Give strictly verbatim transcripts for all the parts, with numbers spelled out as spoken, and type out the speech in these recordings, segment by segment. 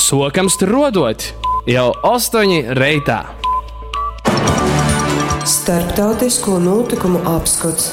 Sokam struodot jau ostoņi reitā. Starptautisko notikumu apskots.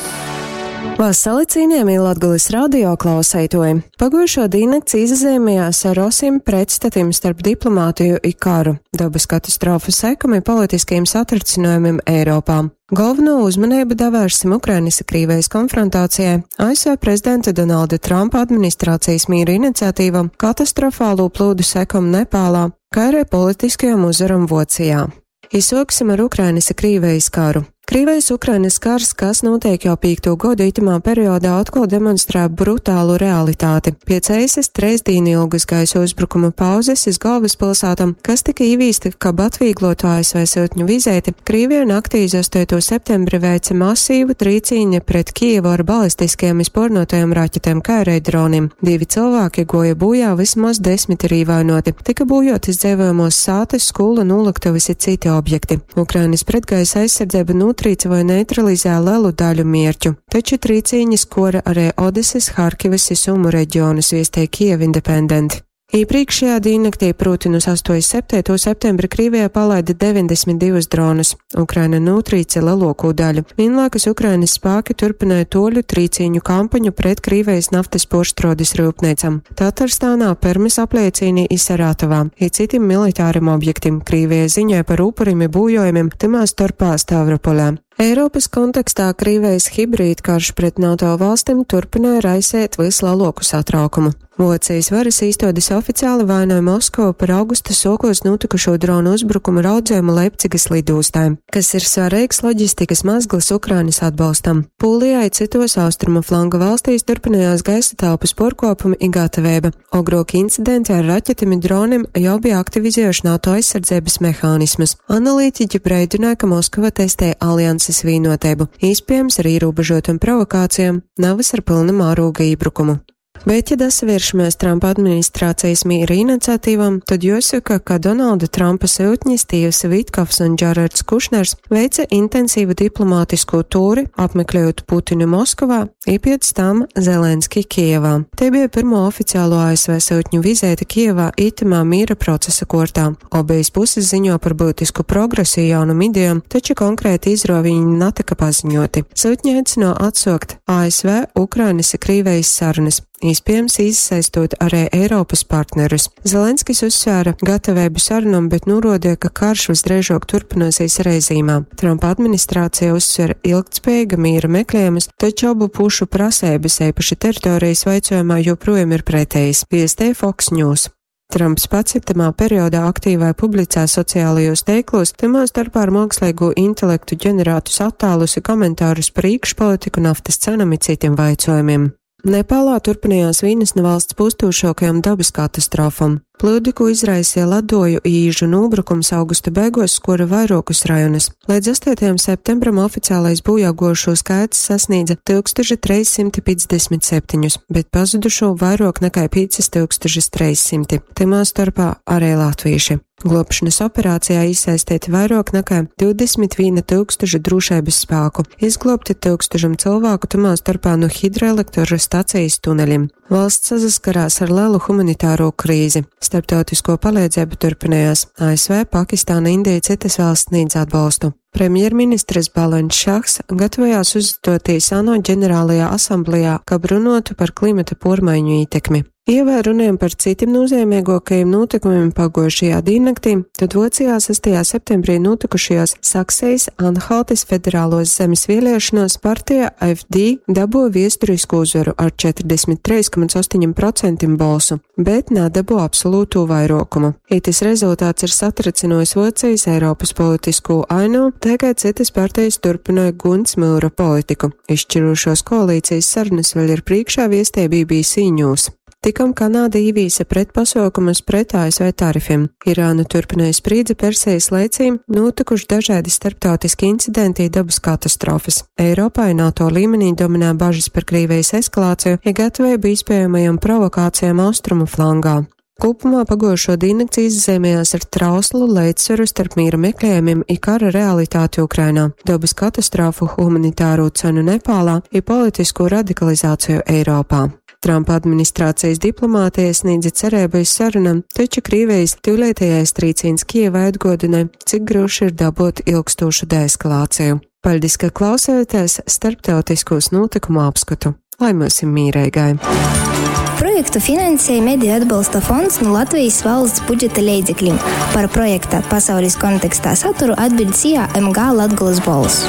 Vasali cienījamie Latgulis radio klauseitoji! Pagujušo dīnnakts izazeimējās ar osim pretstatim starp diplomātiju i karu, dabas katastrofu sekumi politiskajiem satricinojumiem Eiropā. Galveno uzmanību davērsim Ukrainas Krīvijas konfrontācijai, A S V prezidenta Donalda Trumpa administrācijas mīra iniciatīvam, katastrofālo plūdu sekom Nepālā, kā arī politiskajam uzvaram Vocijā. Izsoksim ar Ukrainas Krīvijas karu. Krīvijas-Ukrainas kars, kas notiek jau pīkto godu itamā periodā, atkal demonstrē brutālu realitāti. Piec eisas treisdīnu ilgas gaisa uzbrukuma pauzes iz galvaspilsētam, kas tika īvīsta, kab atvieglotu A S V sūtņu vizīti, Krīvija naktī iz astoto septembri veica masīvu trīcīņu pret Kijevu ar balistiskiem izpornotajiem raķetēm, kā arī droniem. Divi cilvēki goja bojā, vismaz desmit ir īvainoti. Tika būjotas dzīvojamos sātes, skola, nolaktuves i citi objekti. Ukrainas pretgaisa aizsardzība notrīca vai neutralizē lielu daļu mierķu. Taču trīcīņas kora arī Odeses, Harkivas i Sumu reģionus, viestēja Kiev Independent. Iepriekšējā diennaktī, proti no astoto septembra septembra, Krievijā palaida deviņdesmit divus dronus. Ukraina notrīca lielāko daļu. Vienlaikus Ukrainas spēki turpināja toļu trīcīņu kampaņu pret Krievijas naftas porštrodes rūpnīcam Tatarstānā, Permes apliecīnī i Saratovā, i citim militārim objektim. Krievija ziņoja par upurim i būjojumiem, tymā starpā Stavropolē. Eiropas kontekstā Krievijas hibrīdkarš pret NATO valstīm turpināja raisēt vislielāku satraukumu. Vocijas varas īstodes oficiāli vainoja Moskavu par augusta sokos notikušo dronu uzbrukumu raudzējumu Leipcigas lidostā, kas ir svarīgs loģistikas mazglis Ukrainas atbalstam. Pūlijā i citos austrumu flanga valstīs turpinājās gaisa telpas porkopumi i gatavība. Ogrok incidenti ar raķetēm i dronim jau bija aktivizējuši NATO aizsardzības mehānismus. Analītiķi breidināja, ka Moskava testē alianses vienotību, iespējams ar ierobežotam provokācijām, nevis ar pilna mārūga iebrukumu. Bet, ja dasavēršamies Trumpa administrācijas mīra iniciatīvam, tad jāsaka, ka Donalda Trumpa sūtņi Stīvs Vitkovs un Džarards Kušners veica intensīvu diplomātisko tūri, apmeklējot Putinu Moskovā, i pēc tam Zelenski Kijevā. Te bija pirmo oficiālo A S V sūtņu vizīte Kijevā itamā mīra procesa kortā. Obejas puses ziņo par būtisku progresu i jaunam idejām, taču konkrēti izroviņi netika paziņoti. Sūtņi aicino atsokt A S V, Ukrainas i Krīvijas sarunas, iespējams iesaistot arī Eiropas partnerus. Zelenskis uzsvēra gatavību sarunam, bet norādīja, ka karš visdrīzāk turpināsies režīmā. Trumpa administrācija uzsver ilgtspējīga mīra meklējumus, taču abu pušu prasības, īpaši teritorijas vaicojumā, joprojām ir pretējas, viestēja Fox News. Trumps pats itamā periodā aktīvai publicē sociālajos teiklos, tymā starpā ar mākslīgo intelektu ģenerētus attēlus i komentārus par iekšpolitiku, naftas cenam i citiem vaicojumiem. Nepālā turpinājās vienas no valsts postūšākajām dabas katastrofām. Plūdi, ko izraisīja ledoju īžu nūbrukums augusta beigos, skora vairākus rajonus. Līdz astotajam septembram oficiālais bojāgojušo skaits sasniedza tūkstoš trīs simti piecdesmit septiņus, bet pazudušo vairāk nekā piecus tūkstošus trīs simtus, tymā starpā arī latvieši. Glābšanas operācijā iesaistīti vairāk nekā divdesmit viena tūkstoša drošības spēku, izglābti tūkstošam cilvēku, tymā starpā no hidroelektrostacijas tuneļiem. Valsts saskarās ar lielu humanitāro krīzi. Starptautisko palīdzību turpinājās. A S V, Pakistāna, Indija, citas valsts sniedz atbalstu. Premjerministrs Balens Šahs gatavojās uzstāties ANO ģenerālajā asamblējā, kab runotu par klimata pormaiņu ietekmi. Ja vēl runājam par citiem nozīmīgākajiem notikumiem pagojušajā diennaktī, tad Vācijā sestajā septembrī notikušajās Saksijas Anhaltes federālos zemes vēlēšanās partija A F D dabo viesturisku uzvaru ar četrdesmit trīs komats astoņi procenti balsu, bet nedabo absolūto vairokumu. Itis rezultāts ir satricinojis Vācijas Eiropas politisko ainu, tagad citas partijas turpināja guns mūra politiku. Izšķirošos koalīcijas sarunas vēl ir priekšā, viestē B B C News. Tikom Kanāda īvīsa pretpasaukumus pret A S V tarifiem. Irāna turpināja sprīdzi Persijas leicī, notikuši dažādi starptautiski incidenti i dabas katastrofas. Eiropā i NATO līmenī dominē bažas par Krievijas eskalāciju, ja gatavību iespējamajām provokācijām austrumu flangā. Kopumā pagojušo diennakts izzīmējās ar trauslu līdzsvaru starp mīra meklējumiem i kara realitāti Ukrainā, dabas katastrofu, humanitāro cenu Nepālā i politisko radikalizāciju Eiropā. Trumpa administrācijas diplomātija sniedza cerību iz sarunam, taču Krievijas tyulētējais trīcīns Kijevai atgodināja, cik grūši ir dabūt ilgstošu deeskalāciju. Paļdis, ka klausāties starptautiskos notikumu apskatu. Lai mums ir mīreigai! Projektu finansēja Mediju atbalsta fonds no Latvijas valsts budžeta leidzekļiem. Par projekta pasaules kontekstā saturu atbild SIA M G Latgolas Bols.